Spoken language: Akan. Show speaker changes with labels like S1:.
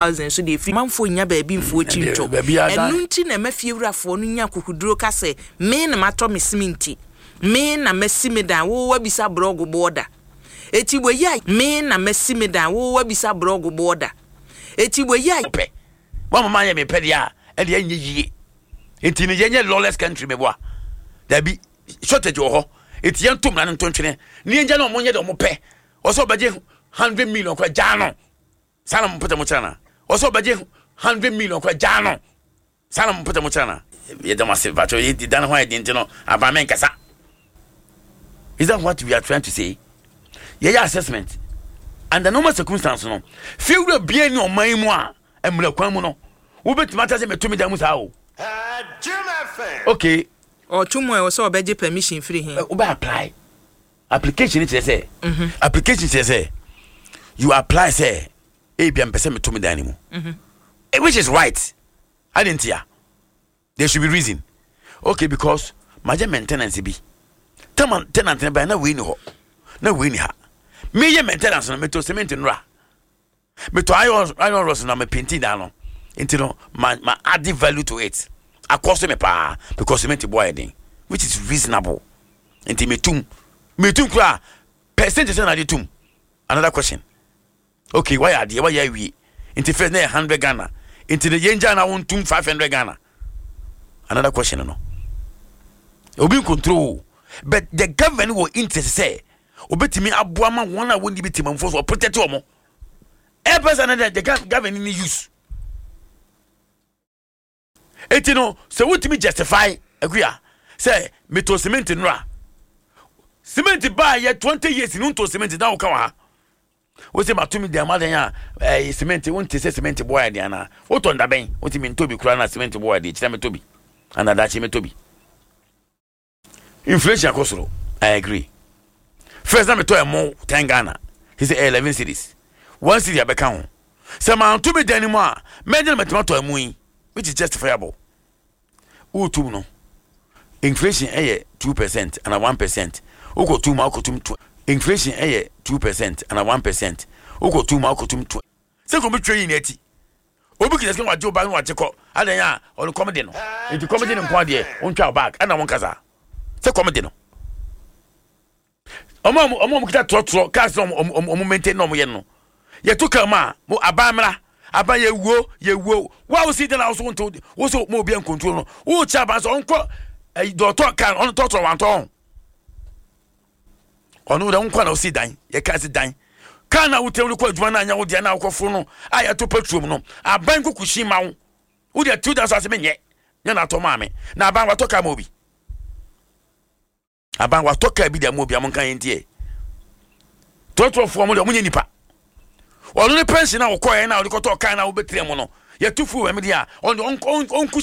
S1: Thousand so deɛ ɛfiri manfoɔ nnya baabi mfoɔ akyi
S2: Ɛdeɛ,
S1: ntɔ.
S2: baabi a dan-
S1: Ɛno nti na ɛma fiewurafoɔ no nya akokoduro ka sɛ, Me na matɔ me seminti, me na masi me dan, wo woabisa borɔgo boɔ da. Eti wei a, me na masi me dan, wo woabisa borɔgo boɔ da. Eti wei a.
S2: Pɛ. Woama mayɛ me pɛ deɛ a, ɛdeɛ ɛnyɛ yie. Nti no yɛnyɛ lawless country meboa. Dabi, shortage wɔ hɔ. Nti yɛnto mmara no nto ntwene. Ne yɛngya na ɔmo nyɛ deɛ ɔmo pɛ. Ɔsɛ ɔbɛgye 100 million koraa, gyaa no. Saa na mo mpɛtɛ mo kyerɛ na. Ɔsɛ ɔbɛgye 100 million koraa, gyaa no. Saa na mo mpɛtɛ mo kyerɛ na. Yɛda mo ase patro yɛ dan ho ayɛ den nti no aban mɛnkasa. Is that what we are trying to say? Yɛyɛ assessment. Under normal circumstance no, fiewura bia ni ɔman yi mu a mmerɛ kwan mu no, wobɛtumi ata sɛ mɛto me dan mu saa o. Okay.
S1: Ɔto mu a, ɛwɔ sɛ ɔbɛgye permission firi he?
S2: Wobɛ apply. Application kyerɛ sɛ, application kyerɛ sɛ you apply sɛ ebia mpɛ sɛ meto me dan no mu. Which is right. Adi ntia. There should be reason. Okay, because magye maintenance bi. Tama tenant ne ban na wei ni hɔ. Na wei ni ha. Meyɛ maintenance no, meto cement nura. Meto iron rods na me painting dan no. Nti no ma add value to it. Akɔ so me paa because cement boɔ ayɛ den, which is reasonable. Nti metum. Metum kura percentage na ade tum. Another question. Okay, wayɛ adeɛ, wayɛ awie. Nti first na yɛ 100 Ghana. Nti no yɛn gya na wɔntum 500 Ghana. Another question no. Obi control, but the government wɔ interest sɛ obetumi aboa ma wɔn a wɔnni bi temamufoɔ so ɔprotect wɔn. Ɛpɛ sɛ no the government ni use. Eti no sɛ wotumi justify akuya sɛ meto cement nora, cement baa yɛ 20 years no nto cement na woka wɔ ha wosɛ matumi dan madan a ɛyɛ cement, wonte sɛ cement boɔ yɛ den anaa wotɔ ndabɛn wote mentɔ bi koraa na cement boɔ yɛ den kyerɛ metɔ bi anaa daakye metɔ bi. Inflation akɔ soro, I agree. First na metɔ ɛmo 10 Ghana, he sɛ 11 cedis, 1 cedi abɛka ho. Sɛ manto me dan no mu a, mɛgye na matumi atɔ ɛmo yi, which is justifiable. Wotum no inflation ɛyɛ 2% ana 1%, wokɔtum a wokɔtum to inflation ɛyɛ 2% ana 1%, wokɔtum a wokɔtum to sɛ kɔmi twɛ yi n'akyi obi kita sika wagye wo bag na wagye kɔ adan a ɔno kɔm de no. Nti kɔm de no nko adeɛ wontwa wo bag ɛna wɔn kasa sɛ kɔm de no. Ɔmo a ɔmo kita trɔtrɔ cars na ɔmo maintain na ɔmo yɛ no yɛto kaa mu a mo aban mmra aban yɛwuo yɛwuo wo a wosi dan a woso wonto woso mo obi nkontro no wokyɛ aban sɛ ɔnkɔ ɛyi dɔtɔ kaa ɔno trɔtrɔ wantɔ ɔno dɛ nkɔ na wosi dan yɛka si dan kaa na wotɛm de kɔ adwuma na anya wo deɛ na wokɔforo no a yɛto petrol mu no aban kɔ kusi ma wo wode tu dan so ase menyɛ nyɛ na atɔ maame na aban watɔ kaa ma obi, aban watɔ kaa bi de ama obi a monka yɛn ntiɛ trɔtrɔfoɔ mo deɛ ɔmo nyɛ nipa. Ɔno ne pension a wɔkɔɛ na ɔde kɔtɔ kaa na wobɛtena mu no yɛto fuel wɔ mu deɛ a ɔno ɔnku.